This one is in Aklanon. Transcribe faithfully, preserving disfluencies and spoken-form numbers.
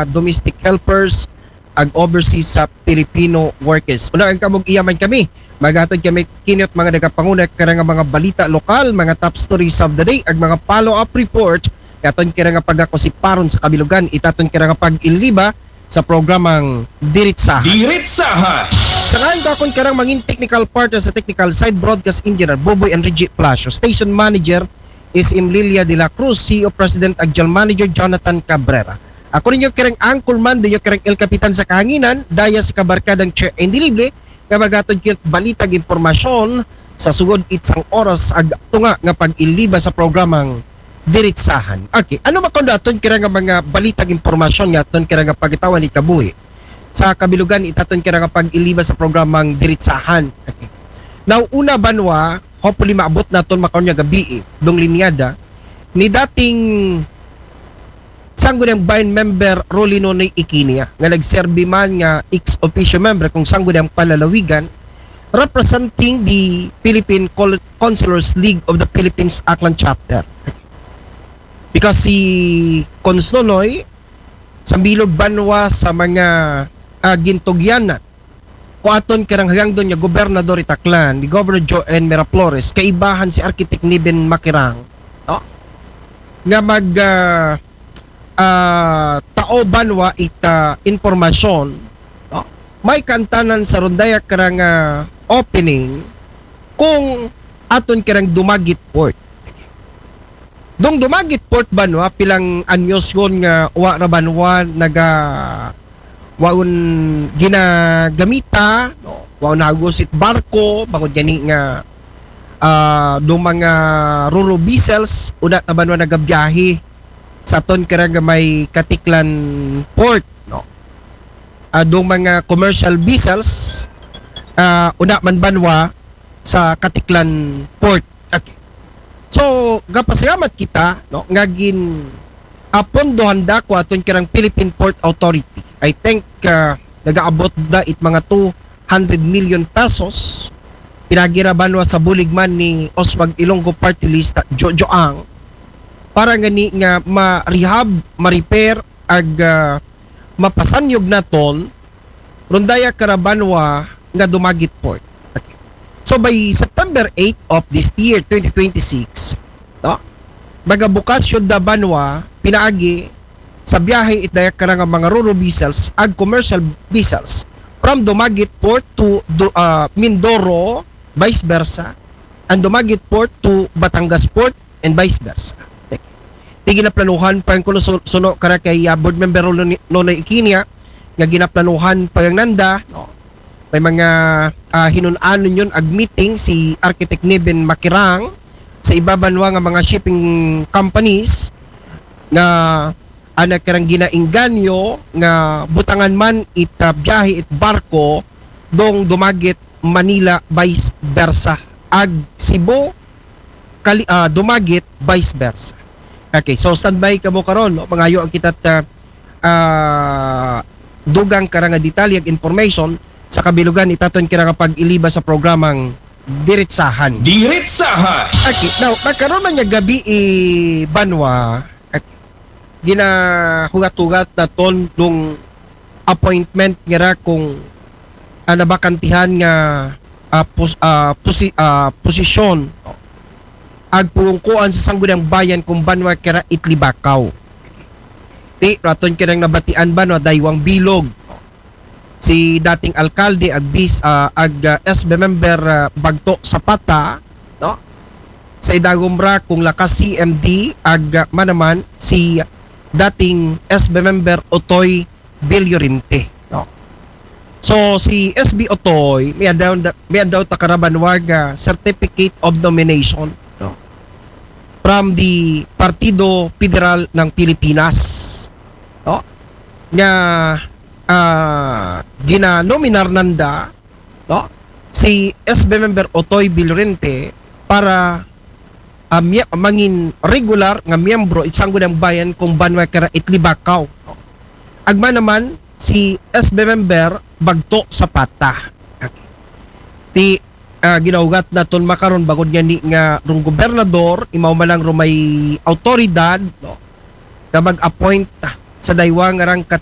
domestic helpers, ag overseas sa Filipino workers. Una ang kamog iyaman kami. Maghatod kami kinot mga nagapanguna karang mga balita lokal, mga top stories of the day, ag mga follow-up report. Aton kira nga pagakusiparon sa kabilugan, itaton kira nga pag-iliba sa programang Diritsahan. Diritsahan. Sa ngayon ko akong karang mangin technical partner sa technical side, broadcast engineer Boboy Enrique Palacio, station manager is Imlilia de la Cruz, C E O President ag General Manager Jonathan Cabrera. Ako ninyo kirang anchorman, ninyo kirang El Kapitan sa Kahanginan, daya sa kabarkadang Chair Indilible, nga magatod kit balitag impormasyon sa sugod itsang oras ag tunga nga pag-iliba sa programang Diritsahan. Okay, ano ba kung aton kira nga mga balitag impormasyon nga aton kira nga pagitawan ikabuhi? Sa kabilugan, itaton kira nga pag-iliba sa programang Diritsahan. Okay. Now, una banwa, hopefully maabot naton makaon nga gabi eh, dong linyada, ni dating Sangguniang Bayan member Rolly Nonoy Ikinia nga nagserbi man nga ex officio member kung Sangguniang Panlalawigan representing the Philippine Col- Councilors League of the Philippines Aklan Chapter. Because si Cons Nonoy sa bilog banwa sa mga uh, gintugyanan ko aton karang hangdon nga gobernador itaklan ni Governor Joan Miraflores kaibahan si Architect Niben Makirang, no? Nga mag uh, uh, tao banwa ita impormasyon, no? May kantanan sa rondaya karang uh, opening kung aton karang Dumaguete Port. Dong Dumaguete Port banwa pilang anyos yon nga wa ra banwa naga waon ginagamita, no? Waon hagusit barko, bangod gani nga uh, do mga roro vessels, una ta banwa nagabiyahe sa aton kira nga may Katiklan Port, no? Uh, do mga commercial vessels, uh, una man banwa sa Katiklan Port. Okay. So, gapasalamat kita, no, nga gin apondohan da ko aton kirang Philippine Port Authority. I think uh, nagaabot da it mga two hundred million pesos pinagira banwa sa bulig man ni Oswag Ilonggo Party List Jojo Ang para gani nga ma-rehab, ma-repair ag uh, mapasanyog naton rondaya karabanwa nga Dumaguete Port. So by September eight of this year, twenty twenty-six, no? Magabukas yun da banwa pinaagi sa biyahe itdaya kara nga mga roro vessels ag commercial vessels from Dumaguete Port to do, uh, Mindoro, vice versa, and Dumaguete Port to Batangas Port and vice versa. Ti ginaplanuhan pa ang kuno suno kara kay uh, board member Nonoy Ikinia nga ginaplanuhan pa ang nanda, no? May mga uh, hinun-anon yun ag meeting si Architect Niven Makirang sa ibabanwa nga mga shipping companies nga ana karang ginaingganyo nga butangan man it uh, biyahe it barko dong Dumaguete Manila vice versa ag Cebu kali, uh, Dumaguete vice versa. Okay, so standby kamo karon, no? Mangayo ang kita uh, uh, dugang kara nga detalye ag information sa kabilugan itaton kira nga pag-iliba sa programang Diritsahan. Diritsahan. Okay, now, nagkaroon man niya gabi i Banwa, ginahugat-hugat naton dong appointment ngira kung uh, nabakantihan nga uh, pos, uh, posi, uh, posisyon ag pungkuan sa Sangguniang Bayan kung banwa kira Itlibakaw. Ti raton kirang nabatian banwa daywang bilog si dating alkalde ag bis uh, ag uh, S B member uh, Bagto Zapata, no? Sa idagom ra kung lakas C M D ag uh, manaman si dating S B member Otoy Villorente, no? So si S B Otoy may adaw may adaw takarabanwag uh, certificate of nomination, no? From the Partido Federal ng Pilipinas, no? Nga uh, ginanominar nanda, no? Si S B member Otoy Villorente para uh, mia, mangin regular nga miyembro it Sangguniang Bayan kung banwa kira Itlibakaw, no? Agma naman si S B member Bagto Zapata. Okay. Ti uh, ginaugat naton makaron bangod nga ni nga rong gobernador imaw man lang rumay autoridad, no? Nga mag-appoint sa daywa nga rang kat